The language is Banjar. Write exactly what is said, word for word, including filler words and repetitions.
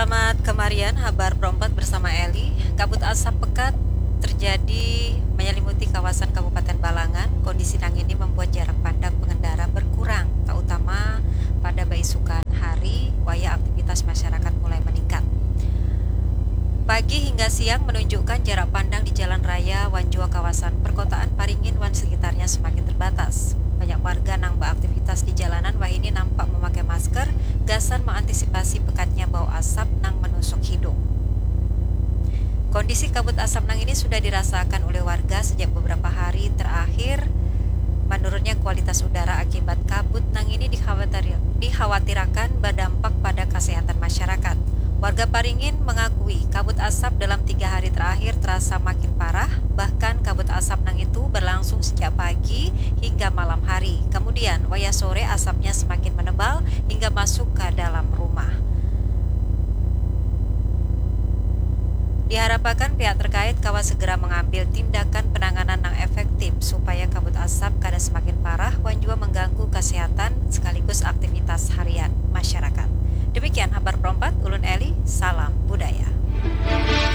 Selamat kemarian, habar perompat bersama Eli. Kabut asap pekat terjadi menyelimuti kawasan Kabupaten Balangan. Kondisi nang ini membuat jarak pandang pengendara berkurang, terutama pada baisukan hari, wayah aktivitas masyarakat mulai meningkat. Pagi hingga siang menunjukkan jarak pandang di jalan raya wan jua kawasan perkotaan Paringin wan sekitarnya semakin terbatas. Banyak warga nang beraktivitas di jalanan wahini nampak memakai masker gasan mengantisipasi pekatnya bau asap nang menusuk hidung. Kondisi kabut asap nang ini sudah dirasakan oleh warga sejak beberapa hari terakhir. Menurunnya kualitas udara akibat kabut nang ini dikhawatir- dikhawatirkan berdampak pada kesehatan masyarakat. Warga Paringin mengakui kabut asap dalam tiga hari terakhir terasa makin parah, bahkan kabut asap nang itu berlangsung sejak pagi hingga malam hari. Kemudian, wayah sore asapnya semakin menebal hingga masuk ke dalam rumah. Diharapkan pihak terkait kawa segera mengambil tindakan penanganan nang efektif supaya kabut asap kada semakin parah wan jua mengganggu kesehatan sekaligus aktivitas harian masyarakat. Demikian habar perompat, ulun Eli, salam budaya.